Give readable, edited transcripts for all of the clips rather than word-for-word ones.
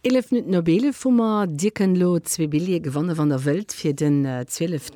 11 Minutten op 11 hu mer. Dir kënnt elo zwee Billjeeë gewannen, wann der wëllt, fir den 12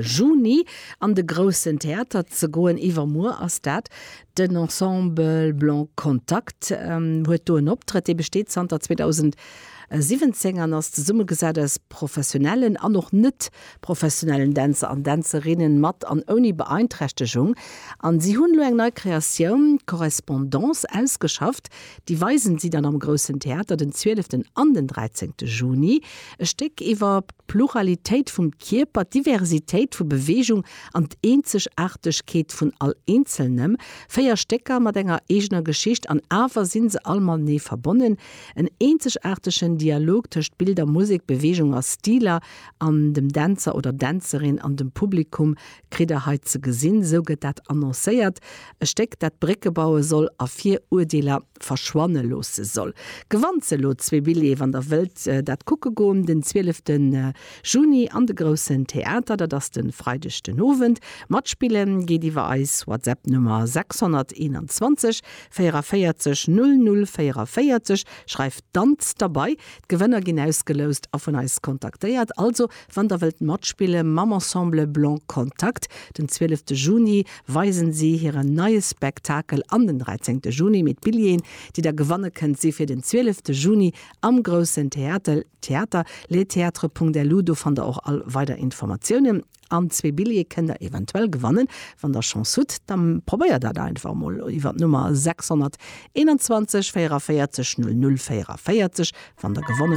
Juni an de Groussen Theater ze goen. Iwwermuer ass dat. Den Ensemble Blanc Contact huet do en Optrëtt. Dee besteet zanter 2017 an ass zesummegesat aus professionellen an och net professionellen Dänzer an Dänzerinnen mat an ouni Beeinträchtegung. An si hunn elo eng nei Kreatioun, Correspondance, ausgeschafft. Déi weisen si dann am Groussen Theater den 12 an den 13 Juni. E Stéck iwwer d'Pluralitéit vum Kierper, d'Diversitéit vu Beweegung an d'Eenzegaartegkeet vun all Eenzelnem. 4 Stécker mat enger eegener Geschicht an awer sinn se all matenee verbonnen. En eenzegaartegen Dialog tëscht Bilder, Musek, Beweegung a Stiler an dem Dänzer oder Dänzerin an dem Publikum kritt der hei ze gesinn, esou gëtt dat annoncéiert. E Stéck, dat Brécke baue soll a Virurdeeler verschwanne loosse soll. Gewannt se elo zwee Billjeeë, wann der wëllt dat kucke goen, den 12 Juni an de Groussen Theater, dat ass de Freideg den Owend. Matspille geet iwwer eis WhatsApp-Nummer 621 44 00 44. Schreift Danz derbei. D'Gewënner ginn ausgeloust a vun eis kontaktéiert. Also wann der wëllt matspille mam Ensemble Blanc Contact, den 12 Juni weisen si hiren neie Spektakel an den 13 Juni. Mee d'Billjeeën déi der gewanne kënnt si fir den 12 Juni am Groussen Theater, Theater, letheatre.lu. Do fannt der och all weider Informatiounen. An zwee Billjeeë kënnt der eventuell gewannen. Wann der Chance hutt, da probéiert dat einfach emol iwwer d'Nummer 621 44 00 44. Wann der gewonnen.